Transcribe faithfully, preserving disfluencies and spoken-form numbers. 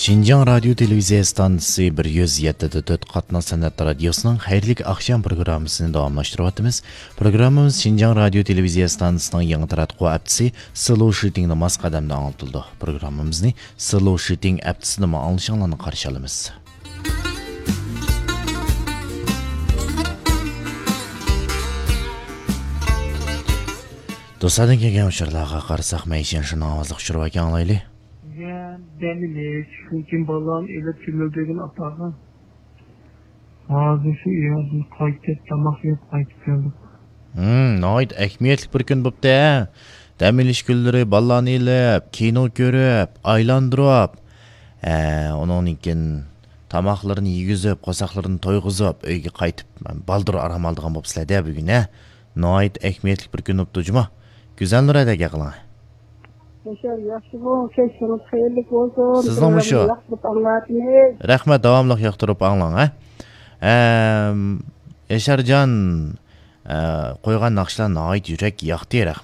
شىنجاڭ رادىيو تېلېۋىزىيە ئىستانسىسى بىر يۈز يەتتە دە تۆت قاتناش سەنئەت رادىيوسىنىڭ خەيرلىك ئاخشام پروگراممىسىنى داۋاملاشتۇرۇۋاتىمىز. پروگراممىمىز شىنجاڭ رادىيو تېلېۋىزىيە ئىستانسىسىنىڭ يېڭى تاراتقۇ ھەپتىسى سلو شىتىڭدا ماس قەدەمدە ئاڭلىتىلىدۇ. پروگراممىمىزنى سلو شىتىڭ ھەپتىسىدىمۇ ئاڭلىشىڭلارنى قارشى ئالىمىز. دوستلاردىن كەلگەن ئۇچۇرلارغا قارىساق، مەيشەن شۇنىڭ ئاۋازلىق ئۇچۇر باركەن، ئاڭلايلى. يا، دەم ئېلىش، شۇنىڭ ئۈچۈن بالىلارنى ئېلىپ كۆمۈلدۈرگىن ئاتاغا. ھازىر شۇ ئۆيدىن قايتىپ، تاماق يەپ قايتىپ كەلدۇق. ھىم، ناھايىتى ئەھمىيەتلىك بىر كۈن بوپتۇ، ھە؟ دەم ئېلىش كۈنلىرى بالىلارنى ئېلىپ، كىنو كۆرۈپ، ئايلاندۇرۇپ، ھە، ئۇنىڭدىن كېيىن تاماقلىرىنى يېگۈزۈپ، قورساقلىرىنى تويغۇزۇپ، ئۆيگە قايتىپ، بالدۇر ئارام ئالىدىغان بوپسىلەر-دە بۈگۈن، ھە؟ ناھايىتى ئەھمىيەتلىك بىر كۈن بوپتۇ جۇمۇ. گۈزەلنۇر ھەدە گەپ قىلىڭ. ياشار، ياخشىغۇ، كەچلىرىڭىز خەيرلىك بولسۇن. سىزنىڭمۇ شۇ. پروگراممىنى ياقتۇرۇپ ئاڭلاۋاتىمىز. رەھمەت، داۋاملىق ياقتۇرۇپ ئاڭلاڭ، ھە. ئەم، ياشارجان، ئە، قويغان ناخشىلار ناھايىتى يۈرەككە ياقتى، رەھمەت.